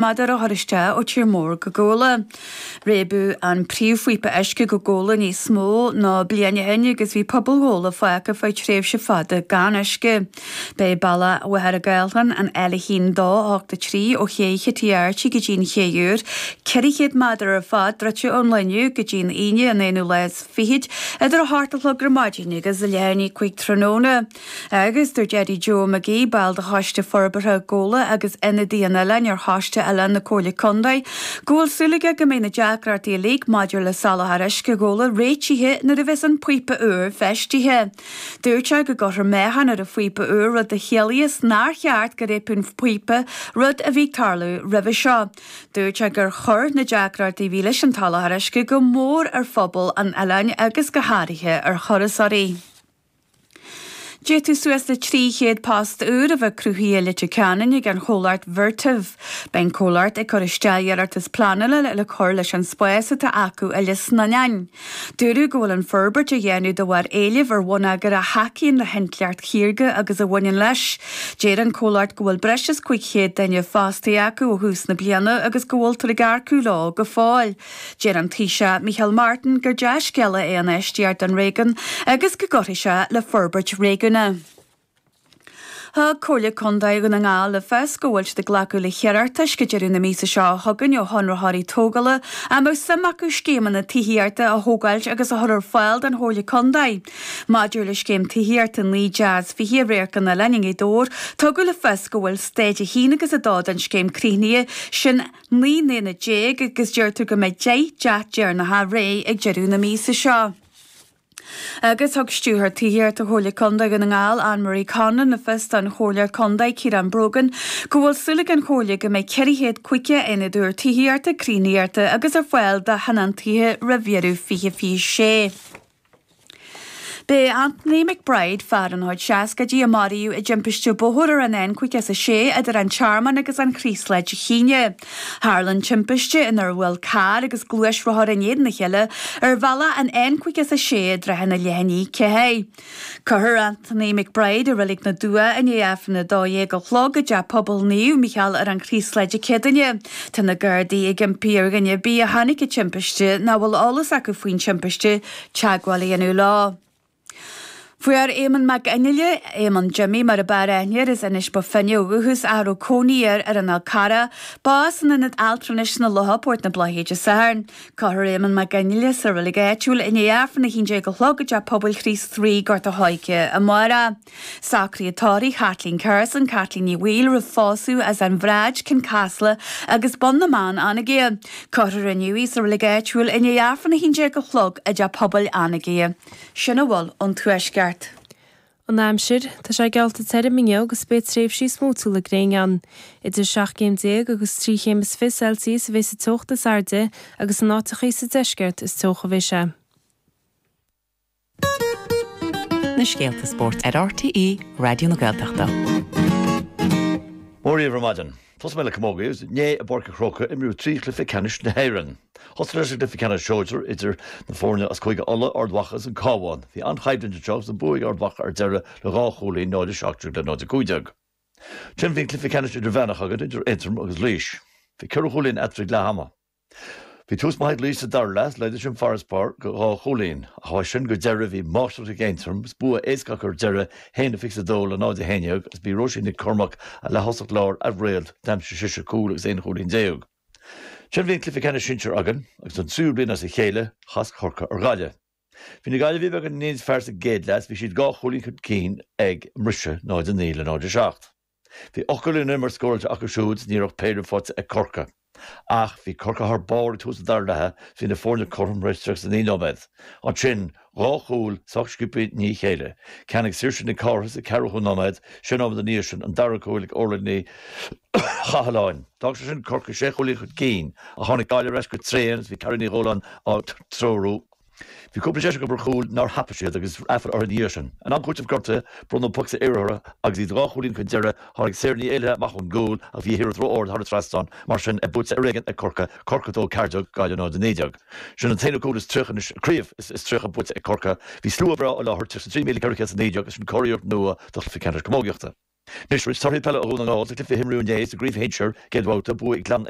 Méadar a chur isteach ó Tír Mór go Gabhla. Réabadh an príomhphíopa uisce go Gabhla níos mó ná bliain ó shin agus bhí pobal Ghabhla fágtha feadh tréimhse fada gan uisce. Beidh bealach Mhachaire Gathlán, an L1 2 8 3 ó Ché Chití Archie go dtí an Ché Úr, 400 méadar ar fad, druidte ón lá inniu go dtí an Aoine an aonú lá is fichid idir 8 a chlog ar maidin agus leath i ndiaidh 5 tráthnóna. Agus dúirt Eddie Joe McGee, ball de Choiste Forbartha Ghabhla agus ionadaí an oileáin ar Choiste Oileán na Comhairle Contae, go bhfuil súil aige go mbeidh na deacrachtaí uilig maidir le soláthar uisce Ghabhla réitithe nuair a bheas an píopa úr feistithe. Dúirt sé go gcuirfear meáchan ar an phíopa úr rud a chiallaíos nár cheart go réabfadh an píopa, rud a bhí ag tarlú roimhe seo. Dúirt sé gur chuir na deacrachtaí a bhí leis an tsoláthar uisce go mór ar phobal an oileáin agus go háirithe ar thurasóirí. D'fhéadfadh suas le 300 post úr a bheith cruthaithe i Leitir Ceanainn ag an chomhlacht Vertiv. Beidh an comhlacht ag cur isteach iarratas pleanála le cur leis an spás atá acu i Lios na nOileán. Dúradh go bhfuil an forbairt á dhéanamh de bharr éilimh ar bhonneagar a thacaíonn le hintleacht shaorga agus a bhaineann leis. Deir an comhlacht go bhfuil breis is 500 duine fostaithe acu ó thús na bliana agus go bhfuiltear ag earcú leo go fóill. Deir an Taoiseach Micheál Martin gur dea-scéala é an infheistíocht don réigiún agus go gcuirfidh sé le forbairt réigiúnach. Thug Comhairle Contae Dhún na nGall le fios go bhfuil siad ag glacadh le hiarratais go deireadh na míosa seo chugainn ó chonraitheoirí tógála a mbeadh suim acu scéimeanna tithíochta a thógáilt agus a chur ar fáil don Chomhairle Contae. Maidir le scéim tithíochta 19 teach i Radharc an Oileáin i ngaoth Dobhair, tugadh le fios go bhfuil staid 1 agus 2 den scéim críochnaithe, sin 19 n-aonad agus deirtear go mbeidh 10 dteach deireanacha réidh ag deireadh na míosa seo. Agus thug Stiúrthóir Tithíochta Chomhairle Contae Dhún na nGall, Anne Marie Conlon le fios don Chomhairleoir Contae, Ciarán Brogan, go bhfuil súil ag an Chomhairle go mbeidh 450 aonad úr tithíochta críochnaithe agus ar fáil do thionóntaithe roimh dheireadh 2026. B'é Anthony McBride, fear ina chuid seascaidí a maraíodh i dtimpiste bóthair ar an N56 idir an Tearmann agus an Chraoslaigh Dé hAoine. Tharla an timpiste inar bhuail carr agus gluaisrothar in éadan a chéile ar bhealach an N56 i dtrátha leath i ndiaidh 4. Cuirfear Anthony McBride i Reilig na dTuath i ndiaidh Aifreann 12 a chlog i dTeach Pobail Naomh Mícheál ar an Chraoslaigh Dé Céadaoine. Tá na Gardaí ag impí ar dhuine ar bith a chonaic an timpiste nó a bhfuil eolas acu faoin timpiste teagmháil a dhéanamh leo. Fuair Éamonn Mac Fhionnghaile, Éamonn Jimmy mar a b'fhearr aithne air, as Inis Bó Finne ó dhúchas ach a raibh cónaí air ar an Fhál Carrach, bás in Ionad Altranais na Locha, Port na Bláthnaide Dé Sathairn. Cuirfear Éamonn Mac Fhionnghaile sa reilig áitiúil i ndiaidh Aifreann 11 a chlog i dTeach Pobail Chríost Rí, Gort a' Choirce, amárach. Socruithe tórraimh Chaitlín Carson, Caitlín Ní Bhaoill roimh phósadh as An Bhráid, Cioncasla agus Bun na mBan, Anagaire. Cuirfear inniu í sa reilig áitiúil i ndiaidh Aifreann 11 a chlog i dTeach Pobail Anagaire. Sin a bhfuil ón Tuaisceart. An aimsir, Tá sé geallta tirim inniu agus beidh tréimhsí smúitiúla gréine ann. Idir 17 céim agus 3 chéim is 20 Celsius a bheas an teocht is airde agus in áiteachaí sa deisceart is teocha a bheidh sé. Na scéalta spóirt ar RTÉ Raidió na Gaeltachta. Mora dhaoibh ar maidin. Tosóidh mé le camógaíocht. Inné i bPáirc an Chrócaigh imríodh trí chluiche ceannais na hÉireann. Thosaigh leis an gcluiche ceannais sóisear idir na foirne as Cúige Uladh, Ard Mhacha agus an Cabhán. Bhí an-choimhlint anseo agus an bua ag Ard Mhacha ar deireadh le dhá chúilín, 0-17 le 0-15. Ansin bhí an cluiche ceannais idirmheánach againn idir Aontroim agus Laois. Bhí ceithre chúilín eatarthu ag leath ama. Bhí tús maith ag Laois sa dara leath, laghdaigh sin farasbarr go dhá chúilín. Ach ó sin go deireadh bhí máistreacht ag Aontroim agus bua éasca acu ar deireadh, 1-22 le 0-11 agus b'í Róisín Nic Cormaic, an leath-thosach láir, an réalt, d'aimsigh sise cúl agus aon chúilín déag. Ansin bhí an cluiche ceannais sinsir againn agus don tríú bliain as a chéile, chas Corcaigh ar Ghaillimh. Bhí na Gaillimhigh beagán níos fearr sa gcéad leath, bhí siad dhá chúilín chun cinn ag an mbriseadh, 0-9 le 0-7. Bhí 8 gcúilín ón imirt scóráilte acu siúd is ní raibh péire faighte ag Corcaigh. Ach bhí Corcaigh thar barr ag tús an dara leatha is bhí na foirne cothrom tar éis 39 nóiméad. Ansin, dhá chúl sách sciobtha i ndiaidh a chéile, ceann ag Saoirse Nic Cárthaigh sa 40ú nóiméad, sé nóiméad ina dhiaidh sin, an dara cúl ag Orla Ní Chathalláin. D'fhág sé sin Corcaigh sé chúilín chun cinn, ach tháinig Gaillimh ar ais go tréan agus bhí Carrie Ní Dhúláin á dtreorú. Bhí cúpla deis acu ar chúl nár thapaigh siad agus aiféala orthu ina dhiaidh sin. In am cúitimh gortaithe, bronnadh poc saor orthu agus iad dhá chúilín chun deiridh, tháinig Sarah Ní Éallaithe amach ón gcúl ach bhí a hiarracht ró-ard thar an trasnán, mar sin é buaite ar éigean ag Corcaigh, Corcaigh 2, 14, Gaillimh 0, 19. Sin an t-aonú cúl is 30 anois, craobh is 30 buaite ag Corcaigh. Bhí slua breá i láthair, 33,419 agus sin curiarracht nua do chluiche ceannais camógaíochta. Anois roinnt torthaí peile ó Dhún na nGall sa chluiche a imríodh inné sa gcraobh shinsir, céad bhabhta, bua ag Gleann.